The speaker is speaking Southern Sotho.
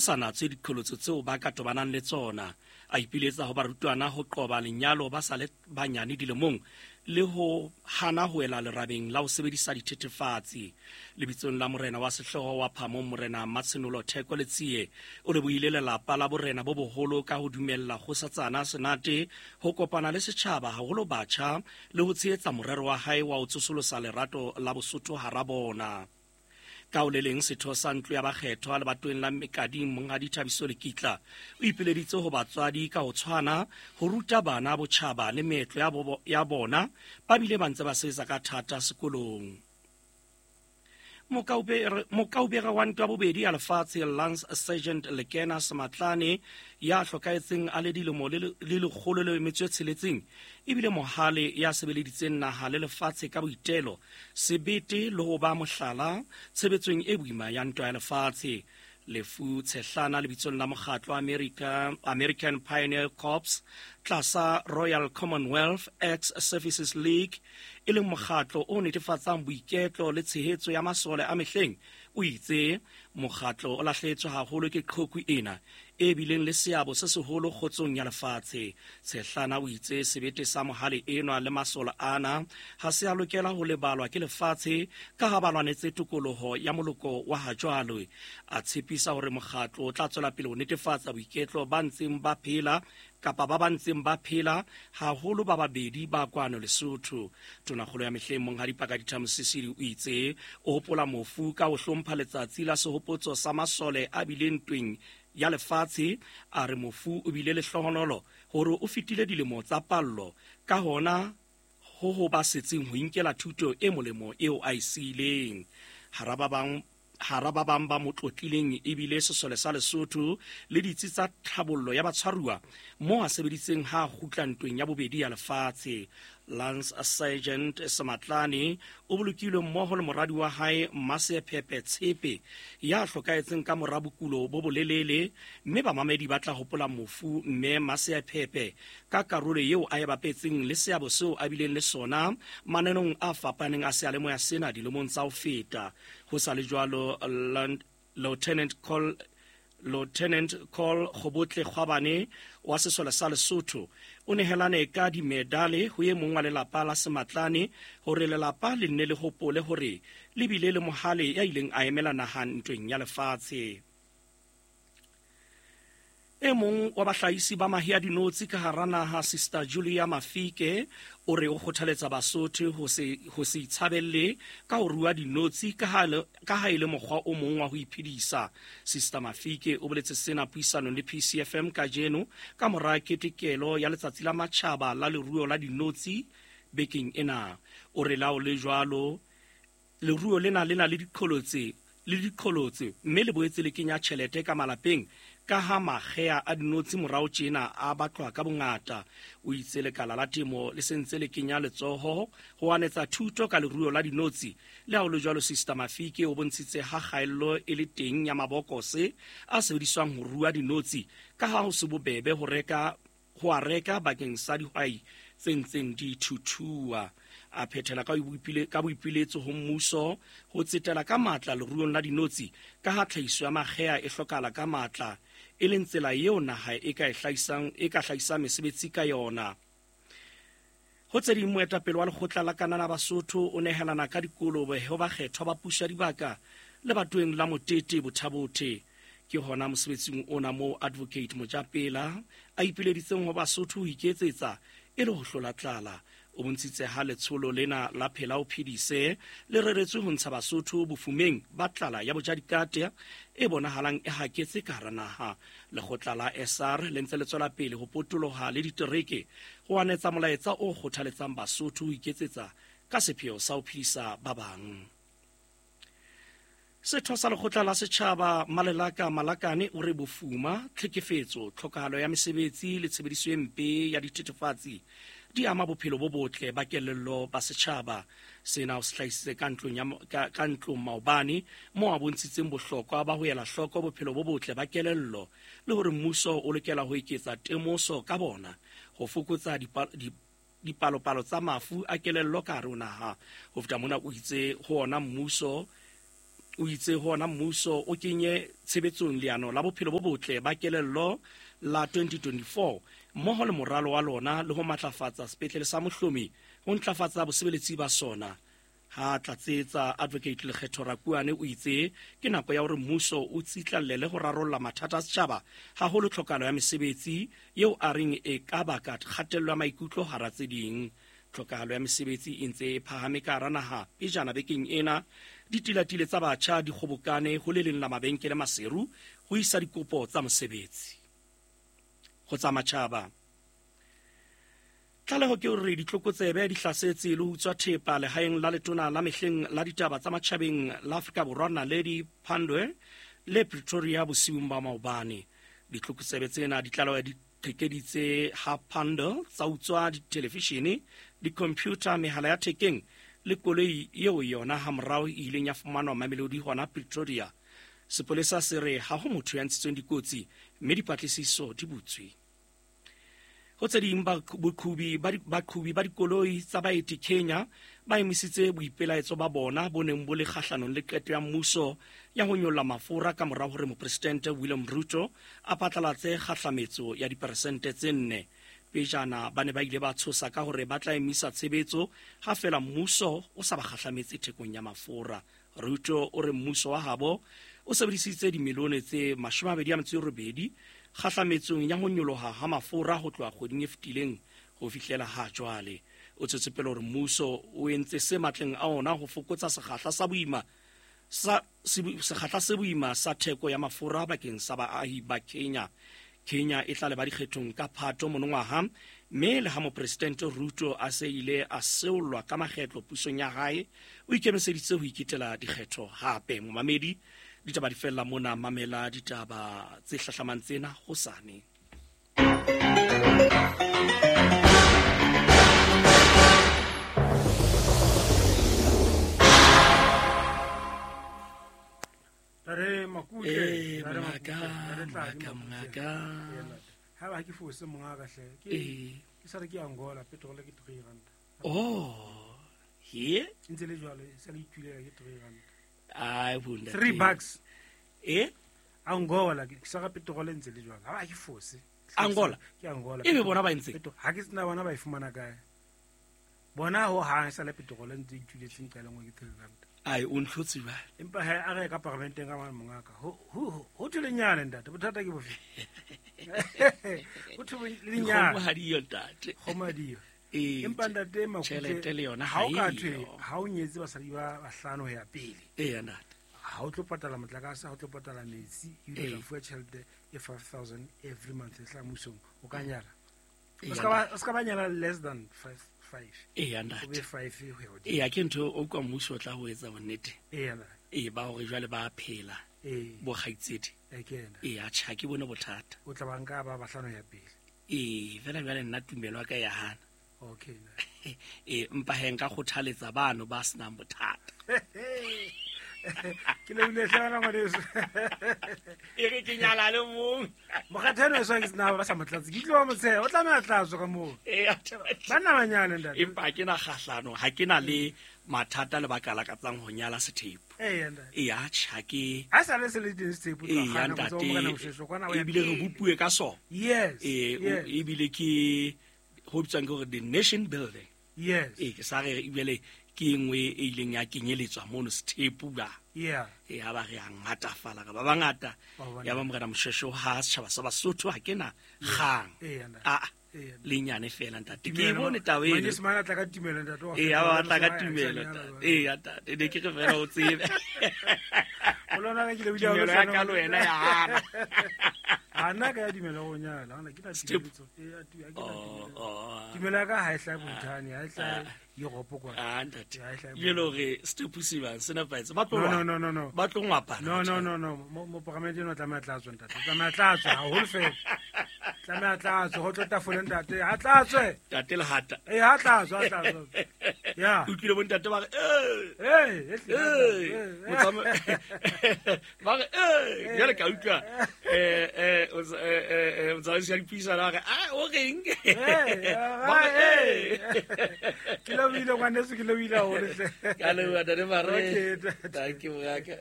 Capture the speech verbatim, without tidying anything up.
Sa natswe diqholotso tseo ba ka tobanang le tsona. A ipiletsa ho barutwana ho qoba lenyalo ba sa le banyane dilemong le ho hana ho wela lerabeng la ho sebedisa dithethefatsi. Lebitsong la morena wa sehlooho wa Phamong, Morena Matshenolo Theko Letsie, o lebohile lelapa la borena bo boholo ka ho dumella kgosatsana Senate ho kopana le setjhaba, haholo batjha, le ho tshehetsa morero wa hae wa ho tsosolosa lerato la Bosotho hara bona. Ka ho le leng, setho sa ntlo ya bakgethwa lebatoweng la Mekading, Monghadi Thabiso Lekitla, o ipileditse ho batswadi ka ho tshwana ho ruta bana botjhaba le meetlo ya, bo, ya bona, ba bile ba ntse ba sebetsa ka thata sekolong. Mokaubere wa ntwa bobedi ya lefatshe Lance Sergeant Lekena Sematlane ya hlokahetseng a le dilemo le lekgolo le metso e tsheletseng ebile mohale ya sebeleditseng naha le lefatshe ka boitelo, sebete le ho ba mohlala tshebetsong e boima ya ntwa ya lefatshe. Lefu Tshehlana lebitsong la mokgatlo America, American Pioneer Corps tlasa Royal Commonwealth Ex-Services League, e leng mokgatlo o netefatsang boiketlo le tshehetso ya masole a mehleng, o itse mokgatlo o lahlehetswe haholo ke qhoku ena e bileng le seabo se seholo kgotsong ya lefatshe. Tshehlana o itse sebete sa mohale enwa le masole ana ha se a lokela ho lebalwa ke lefatshe ka ha ba lwanetse tokoloho ya moloko wa hajwale. A tshepisa hore mokgatlo o tla tswela pele ho netefatsa boiketlo ba ntseng ba phela kapa ba ba ntseng ba phela, haholo ba babedi ba kwano Lesotho. Tonakgolo ya mehleng Monghadi Pakalitha Mosisili o itse o hopola mofu ka ho hlompha letsatsi la sehopotso sa masole a bileng ntweng ya lefatshe. A re mofu o bile lehlohonolo hore o fetile dilemo tsa pallo, ka hona ho ho ba setseng ho inkela thuto e molemo eo a e siileng. Hara ba bang hara ba bang ba mo tlotlileng ebile sesole sa Lesotho le ditsi tsa tlhabollo ya batshwaruwa moo a sebeditseng ha a kgutla ntweng ya bobedi ya lefatshe. Lance Sergeant Sematlane o bolokilwe mmoho le moradi wa hae Mmasephephe Tshepe ya hlokahetseng ka mora bokulo bo bolelele, mme bamamedi ba tla hopola mofu mme Mmasephephe ka karolo eo a e bapetseng le seabo seo a bileng le sona mananong a fapaneng a seyalemoya sena dilemong tsa ho feta. Ho sa le jwalo, Lieutenant Col Lieutenant Col Kgobotle Kgwabane wa sesole sa Lesotho o nehelane ka dimedale ho e mong wa lelapa la Sematlane hore lelapa le nne le hopole hore le bile le mohale ya ileng a emela naha ntweng ya lefatshe. E mong wa bahlahisi ba mahe a dinotshi ka hara naha, Sister Julia Mafike, o re o kgothaletsa Basotho ho se ho se itshabelle ka ho rua dinotshi ka ha ka ha e le mokgwa o mong wa ho iphedisa. Sister Mafike o boletse sena puisanong le P C F M kajeno ka mora ketekelo ya letsatsi la matjhaba la leruo la dinotshi bekeng ena. O re lao le jwalo leruo lena le na le diqholotse le diqholotse mme le boetse le kenya tjhelete ka malapeng ka ha makgea a dinotshi morao tjena a batlwa ka bongata. O itse lekala la temo le sentse le kenya letsoho ho anetsa thuto ka leruo la dinotshi. Le ha ho le jwalo, Sister Mafike o bontshitse ha kgaello e le teng ya mabokose a sebediswang ho rua dinotshi ka ha ho se bobebe ho reka ho a reka bakeng sa dihwai tse ntseng di thuthua. A phethela ka boipiletso ho mmuso ho tsetela ka matla leruong la dinotshi ka ha tlhahiso ya makgea e hlokahala ka matla, e leng tsela eo naha e ka e hlahisang e ka hlahisang mesebetsi ka yona. Ho tse ding, moetapele wa lekgotla la Kanana Basotho o nehelana ka dikolobe ho bakgethwa ba puso ya dibaka lebatoweng la Motete Bothabothe. Ke hona mosebetsing ona moo Advocate Mojapela a ipileditseng ho Basotho ho iketsetsa e le ho hlola tlala. O bontshitse ha letsholo lena la Phela o Phedise le reretswe ho ntsha Basotho bofumeng ba tlala ya bojadikate e bonahalang e haketse ka hara naha. Lekgotla la S R le ntse le tswela pele ho potoloha le ditereke ho anetsa molaetsa o kgothaletsang Basotho ho iketsetsa ka sepheo sa ho phedisa ba bang. Setho sa lekgotla la setjhaba Malelaka Malakane o re bofuma, tlhekefetso, tlhokahalo ya mesebetsi le tshebediso e mpe ya dithethefatsi di ama bophelo bo botle ba kelello ba setjhaba. Sena o se hlahisitse ka ntlong ya ka ntlong maobane moo a bontshitseng bohlokwa ba ho ela hloko bophelo bo botle ba kelello le hore mmuso o lokela ho eketsa temoso ka bona ho fokotsa dipalopalo tsa mafu a kelello ka hare ho naha. Ho feta mona o itse ho ona mmuso O itse hona mmuso o kenye tshebetsong leano la bophelo bo botle ba kelello la twenty twenty-four mmoho le moralo wa lona le ho matlafatsa sepetlele sa Mohlomi ho ntlafatsa bosebeletsi ba sona. Ha tlatsetsa Advocate Lekgetho Rakuane o itse ke nako ya hore mmuso o tsitlallele ho rarolla mathata a setjhaba, haholo tlhokahalo ya mesebetsi eo a reng e ka baka kgatello ya maikutlo hara tse ding. Tlhokahalo ya mesebetsi e ntse e phahame ka hara naha. Pejana bekeng ena ditilatile tsa batjha di kgobokane ho le leng la mabenkele Maseru ho isa dikopo tsa mosebetsi. Ho tsa matjhaba, tlaleho ke hore ditlokotsebe di hlasetse le ho utswa thepa lehaeng la letona la mehleng la ditaba tsa matjhabeng la Afrika Borwa Naledi Pandor le Pretoria bosiung ba maobane. Ditlokotsebe tsena di tlaleho di qhekeditse ha Pandor tsa utswa dithelevishene, di-computer, mehala ya thekeng le koloi eo yona hamorao e ileng ya fumanwa Mamelodi hona Pretoria. Sepolesa se re ha ho motho ya ntshitsweng dikotsi mme dipatlisiso di butswe. Ho tse ding, baqhubi ba dikoloi tsa baeti Kenya ba emisitse boipelaetso ba bona bo neng bo le kgahlanong le qeto ya mmuso ya ho nyolla mafura ka mora hore mopresidente William Ruto a phatlalatse kgahlametso ya diperesente tse nne. Pejana ba ne ba ile ba tshosa ka hore ba tla emisa tshebetso ha fela mmuso o sa ba kgahlametse thekong ya mafura. Ruto o re mmuso wa habo o sebedisitse dimilione tse mashome a mabedi a metso e robedi kgahlametsong ya ho nyoloha ha mafura ho tloha kgweding e fetileng ho fihlela ha jwale. O tswetse pele hore mmuso o entse se matleng a ona ho fokotsa sekgahla sa boima sa sekgahla se boima sa theko ya mafura bakeng sa baahi ba Kenya. Kenya e tla leba dikgethong ka Phato monongwaha, mme le ha mopresidente Ruto a se ile a seolwa ka makgetlo pusong ya hae, o ikemiseditse ho iketela dikgetho hape. Momamedi, ditaba di fella mona, mamela ditaba tse hlahlamang tsena hosane. Re Makutle, re maka, maka, maka. Ha ba ke fose monga ka hle. Ke ke sa re ke Angola petrol ke three rand. Oh, he? Ntse le jwalo, se le itulela ke three rand. Ai bunda. three bucks. Eh? Angola ke sa ga petrol ntse le jwalo. Ha ba ke fose. Angola. Ke Angola. Ebe bona ba ntse. Ha ke tsena bona ba e fumana kae? Bona ho ha sa le petrol ntse ituletseng ka lengwe ke three rand. Ai o ntlhotse ba. Empa ha a re ka parlamenteng ka mongaka. Ho ho ho thelenyana ntate, bothata ke bofe? Ho thelenyana. Ho hadiyo ntate. Ho madiyo. Eh. Empa ntate Makutle tjhelete le yona ha o ka thwe ha o nyetse basadi ba bahlano ho ya pele. Eh ntate. Ha o tlo patala motlakase, ha o tlo patala metsi, e tla fuwa tjhelete e five thousand every month e tla mmusong, o ka nyala. O ska ba o ska ba nyala less than five five. Eh ntate. O be five ho ya hodimo. Eh ke ntho o kwa mmuso o tla ho etsa bonnete. Eh ntate. Eh ba hore jwale ba phela. Eh. Bo kgaitsedi. Eh ke yena. Eh a tjha ke bone bothata. O tla ba nka ba bahlano ya pele. Eh fela jwale nna tumelo ya ka ya hana. Okay. Eh mpa he nka kgothaletsa bano ba senang bothata. Ke le bile hlana ngwaneso. E re ke nyala le mong. Mokgatheno e swa ke sena ba sa motlatse. Ke tlo ba motsheha, o tlameha tlatswe ka moo. Eh banna ba nyale ntate. Empa ke na kgahlano, ha ke na le mathata le baka la katsang ho nyala sethepu. Eh ntate. Eh a tjha ke. Ha sa le se le teng sethepu tla kgana go tswa morena Moshweshwe kwana o ya. Ebile re bopuwe ka sona. Yes. Eh ebile ke ho bitswang ke hore the nation building. Yes. Eh ke sa re ebile ke engwe e ileng ya kenyeletswa mono sethepu ba. Yeah. E ha ba re a ngatafala ka ba bangata. Ya ba morena Moshweshwe ha setjhaba sa Basotho ha ke na kgang. A le nyane fela ntate. Ke bone taba eno. Manyesemane a tla ka tumelo ntate wa. Eh a tla ka tumelo ntate. Eh ntate ne ke re fela o tsebe. O lona ke le bile o ya ka lo wena ya hana. Ana ka ya dumela go nyala, ana ke na tumelo. Eh a ke na tumelo. Tumelo ya ka ha e hlahe Bhutan, ha e hlahe Europe kwa. Ah ntate. Le lore sethepu se bang se nepahetse. Ba tlo No no no no. Ba tlo ngwapana. No no no no. Mo parlamente no tlameha tlatswe ntate. Tlameha tlatswe haholo fela. Tlameha tlatswe ho tlo tafole ntate. Ha tlatswe. Ntate Lehata. Eh ha tlatswe, ha tlatswe. Yeah. Utlwile bontate ba re eh Hey, eh motsama ba re eh jwale ka utlwa eh eh o tsa- eh, eh, eh, motsamaisi wa dipuisano a re ah o reng ba re eh ke lebohile ngwaneso ke lebohile haholo hle. Ka leboha ntate Mare. Okay, Thank you, moraka.